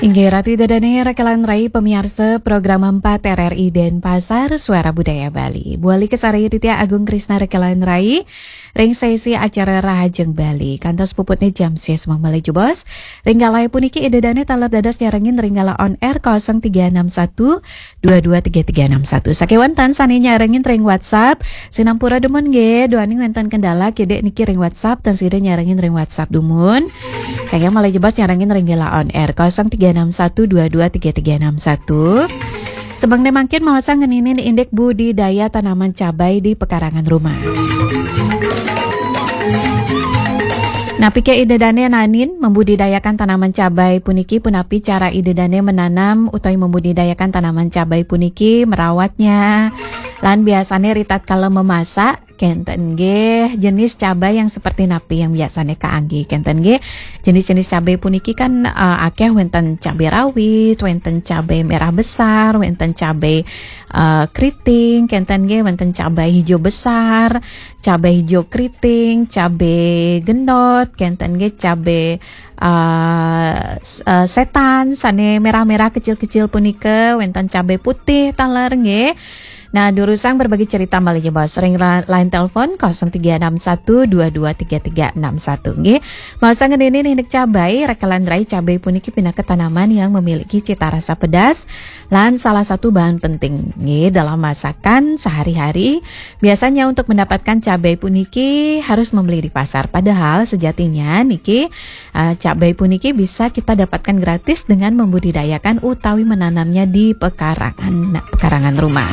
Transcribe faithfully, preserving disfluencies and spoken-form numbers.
Inggih, Ratu Ida Dane, rekan rai pamiarsa program empat R R I Denpasar, Suara Budaya Bali. Buali kasarengin titiang Agung Krisna rekan rai ring sesi acara Rahajeng Bali. Kantos puputne jam sesmeng malih jebos. Ring galah puniki Ida Dane taler dados nyarengin ring galah on air kosong tiga enam satu dua dua tiga tiga enam satu. Sakewanten sane nyarengin ring WhatsApp, sinampura dumun nggih, duaning wenten kendala kidik niki ring WhatsApp, tan sida nyarengin ring WhatsApp dumun. Kayang malih jebos nyarengin ring galah on air kosong tiga enam satu dua dua tiga tiga enam satu. Sebengne mangkin maosang ngeninin indik budidaya tanaman cabai di pekarangan rumah. Napike Ida Dane naenin membudidayakan tanaman cabai puniki, punapi cara Ida Dane menanam utawi membudidayakan tanaman cabai puniki, merawatnya, lan biasane ritatkala memasak, kenten nggih, jenis cabai yang seperti napi yang biasane kaangge, kenten nggih. Jenis-jenis cabai puniki kan, eh, akeh, wenten cabai rawit, wenten cabai merah besar, wenten cabai, eh, keriting, kenten nggih, wenten cabai hijau besar, cabai hijau keriting, cabai gendot, kenten nggih, cabai, eh, s-, eh, setan sane merah-merah kecil-kecil punika, wenten cabai putih taler nggih. Nah, durusang berbagi cerita malih jebos ring la-, line telepon kosong tiga enam satu dua dua tiga tiga enam satu nggih. Maosang ngeninin indik cabai, rekan rai, cabai puniki pinaka tanaman yang memiliki cita rasa pedas lan salah satu bahan penting nggih dalam masakan sehari-hari. Biasanya untuk mendapatkan cabai puniki harus membeli di pasar. Padahal sejatinya niki, eh, cabai puniki bisa kita dapatkan gratis dengan membudidayakan utawi menanamnya di pekarangan, nah, pekarangan rumah.